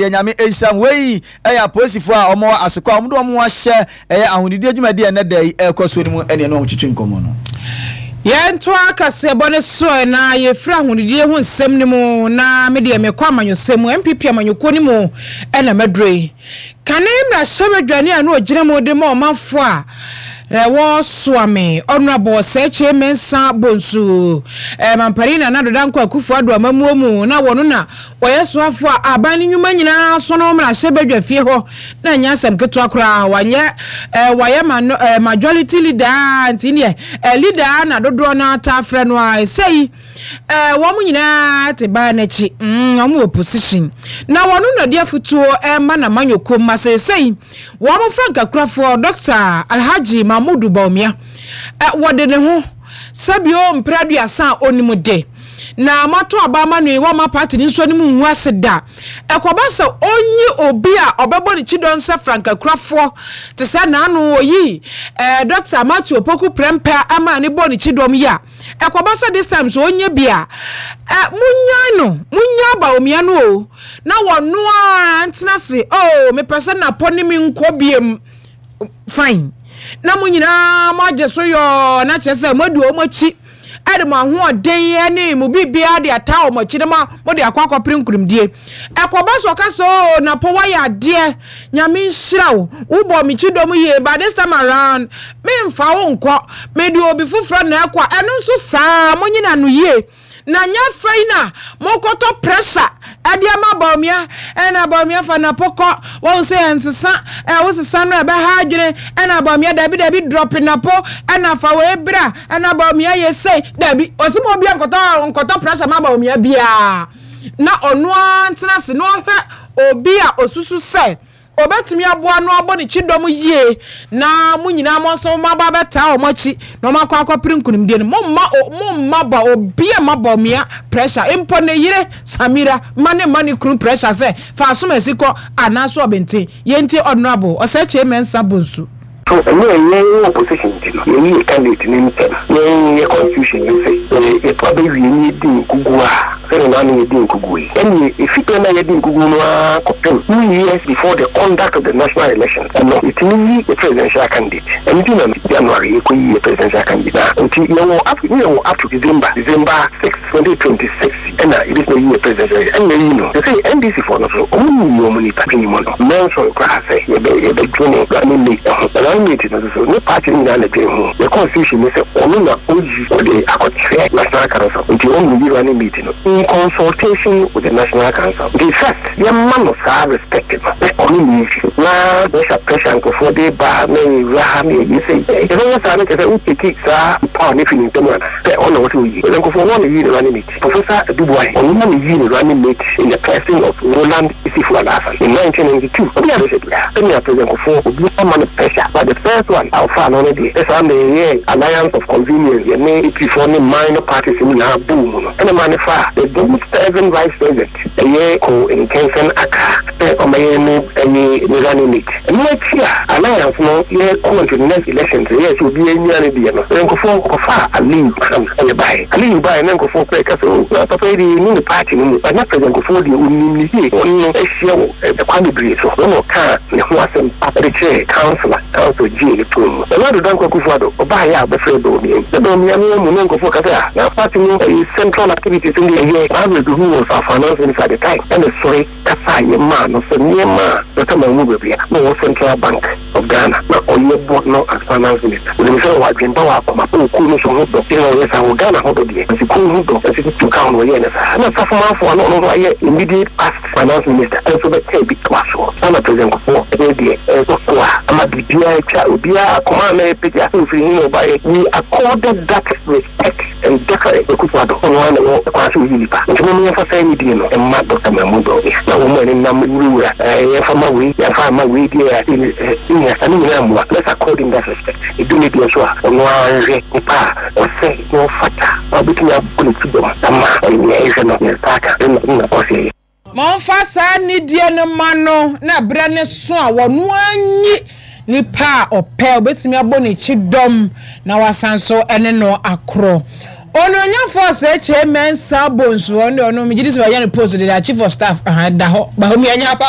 Deɛ Nyame nhyira mo. Wei yɛ apolisifoɔ a wɔwɔ Asokwa a wɔde wɔn ho ahyɛ ɛyɛ ahonidie dwumadie a ɛnnɛ da yi ɛrekɔ soɔ no mu ɛne ɛne wɔn twetwe nkɔmmɔ no. Yɛntoa kaseɛbɔ no so ɛ na yɛfiri ahonidie ho nsɛm no mu na me deɛ mekɔ amanyɔsɛm mu, NPP amanyɔkuo no mu na maduro yi. Kane mmarahyɛbadwani a na ɔgyina mu de ma ɔmanfoɔ a ɛwɔ Soame, Honourable Osei Kyei Mensah Bonsu, Mampanin Nana Addo Dankwa Akufo Addo amammuo mu na wɔno na Wɔyɛ soafo a aban no nnwuma nyinaa so no mmarahyɛ badwa fie hɔ na ɛnyɛ asɛm ketewa koraa. Wanyɛ eh, wayɛ ma no eh, majority leader a nti neɛ eh, leader a na dodoɔ no taa frɛ no a ɛsɛi eh, wɔn nyinaa te baa n'akyi mm, wɔn wɔ position na wɔn na de afutuo ɛma na manyɔkuo mma seesei wɔn frankakurafoɔ Dr. Alhaji Mahmudu Bawumia eh, wɔde ne ho sɛbio mpere aduasa a onim de na moato aba ama no yi, wɔmma party no nso anim ngu ase da. Ɛkɔba sɛ ɔnyi obi a ɔbɛbɔ ne kyidɔn sɛ frankakurafoɔ te sɛ naano ɔyii eh, Dɔkta Matthew Opoku Prempeh ama ne bɔɔ ne kyidɔm yi a, ɛkɔba sɛ this time so ɔnyɛ bi a, eh, monyae no, monyaa Bawumia no o, na wɔno ara ntena ase, oh, mepɛ sɛ Napɔ ne me nkɔ biem. Fine. Na mo nyinaa moagye so yɔɔ, na kyerɛ sɛ moadi wɔn akyi de mo ahoɔden ne mo biribiara de ataa wɔn akyi na ma mode akɔ akɔpere nkunimdie. Ɛkɔba so ɔka sɛ oo Napo woayɛ adeɛ, Nyame nhyira wo, wobɔɔ me kyidɔm yie but this time around memfa wo nkɔ, mede obi foforɔ na ɛkɔ a, ɛno nso saa, monyina no yie. Na nyɛ afei na mokɔtɔ pressure ɛde ama Bawumia, ɛna Bawumia fa Napo kɔ, wahu sɛ ɛnsesa, ɛ wosesa no ɛbɛha adwene, ɛna Bawumia dabi dabi drop Napo, ɛna fa wei bra, ɛna Bawumia yɛ sei, dabi, ɔse ma obia nkɔtɔ nkɔtɔ pressure ma Bawumia biara, na ɔno ara ntena ase na ɔhwɛ obi a osusu sɛ Obetumi aboa no abɔ ne kyidɔm yie na mo nyinaa mo nso moaba abɛtaa wɔn akyi na wɔn akɔ akɔpere nkunimdie no. Momma o momma ba obi a mma Bawumia pressure mpo ne yere Samira mma ne mma ne kunu pressure sɛ fa asomasi kɔ anaasɛ ɔbenten. Yɛntie Honourable Osei Kyei Mensah Bonsu. So ɛnyɛ yɛn wɔ opposition nti no yɛyi yɛ candidate no ntɛm? Yɛn yɛ constitution no se sɛ yɛto aba wie na yɛdi nkuguo a, sɛdeɛ naano yɛdii nkuguo yi, ɛnneɛ ɛfi berɛ no a yɛadi nkuguo no ara kɔpem two years before the conduct of the national elections no, yɛtumi yi yɛ presidential candidate. Ɛno nti na January yɛkɔyi yɛ presidential candidate. Na nti yɛwɔ up to, ne yɛwɔ up to December, December 6, 2026. Ɛna yɛbɛtumi ayi yɛ president sɛ ɛna ayi no sesei NDC foɔ no nso ɔmo nyi ɔmo nipa dwene mu no mɛnsɔre koraa sɛ yɛbɛ yɛbɛ dwene running mate ho na running mate no nso so ne party no nyinaa na dwene ho yɛ constitution ne sɛ ɔno na ɔyi ɔde akɔkyerɛ national council nti ɔmo yi running mate no in consultation with the national council nti first yɛma no saa respect no sɛ ɔno na eyi na pressure pressure nkorɔfoɔ de ba na yɛwura ha na yɛyɛ sei yɛbɛyɛ saa no kyerɛ sɛ wo take saa power no firi ne nsam anaa sɛ ɔno na ɛwɔ sɛ ɔyi nkorɔfoɔ ɔno na eyi ne running mate. Professor Adu Boahe, ɔno na meyii ne running mate in the person of Roland Issifu Alhassan in 1992. Obi a mehwɛ biara, sɛnea President Kufuor, obiara mma no pressure, but the first one a ɔfaa no no deɛ, ne saa mmerɛ yɛyɛɛ alliance of convenience, yɛne AP foɔ ne minor parties no nyinaa bɔɔ mu no, ɛna ɛmaa no faa the then serving Vice President, ɛyɛ Ko Nkensen Akah, sɛ ɔmmɛyɛ ne ɛye ne running mate. Ɛno akyi a Alliance no yɛ kɔɔ into the next elections no yɛɛ sɛ obiara nnya ne deɛ no, nkurɔfoɔ kɔfaa Aliyu Mahama na ɛbaeɛ. Aliyu baeɛ na nkurɔfoɔ koraa ɛka sɛ oh na papa yi deɛ yɛnni ne party no mu but na President Kufuor deɛ ɔnim no yie, ɔne no ahyia wɔ ɛkwan bebree so na ɔkaa ne ho asɛm pa de kyerɛɛ council a council gyee no too mu. Nana Addo Dankwa Akufo Addo ɔbaeɛ a ɔbɛfrɛɛ Bawumia yi na Bawumia no amu na nkurɔfoɔ ka sɛ ah na party no ɛyɛ central activities no deɛ ɛyɛ Margaret who was our finance minister at the time ɛna ɛsɔre kasaeɛ maa no sɛ nneɛma a Dɔkta Mahmood Bawumia na ɔwɔ Central Bank of Ghana na ɔyɛ bɔ no as finance minister. Onim sɛ ɔwɔ adwene pa wɔ akoma pa wɔ kuo no so ho dɔ nti na ɔyɛ saa, wɔ Ghana ho dɔ deɛ nti kuo ho dɔ nti tutu ka ho na ɔyɛɛ no saa. Ɛna Safo Manfo a na ɔno nso ayɛ immediate past finance minister nso bɛkaa bi toa soɔ. Saa na President Kufuor ne deɛ ɛrekɔ so a ama biribiara atwa obiara akoma a na ɛrepagya sɛ ɔfiri he na ɔbaeɛ. We accorded that respect. Ndaka Akufo Addo, ɔno ara na ɔwɔ kwan sɛ oyi nipa, nti mom yɛmfa saa anidie no mma Dɔkta Mahmood Bawumia, na wɔn a nenam wurawura eh, yɛmfa ma wei, yɛmfa mma wei deɛ a, eh, nua, ɛno nyinaa mmoa, let's accord him that respect, ɛdu ne deɛ so a, ɔno ara nhwɛ nipa a ɔsɛ na ɔfata na ɔbɛtumi abɔ ne ti dɔm ama nea ɛhwɛ no, ne nsa aka, ɛna na ɔsɛ yɛ. Momfa saa nidie no mma no na berɛ no so a ɔno ara nyi nipa a ɔpɛ, ɔbɛtumi abɔ ne kyidɔm na wasan nso ne no akorɔ. Onuonyamfoɔ Osei Kyei Mensah Bonsu, ɔno deɛ ɔno megye di sɛ wanya ne post deda, Chief of Staff, aha, da hɔ, Bawumia nya apa.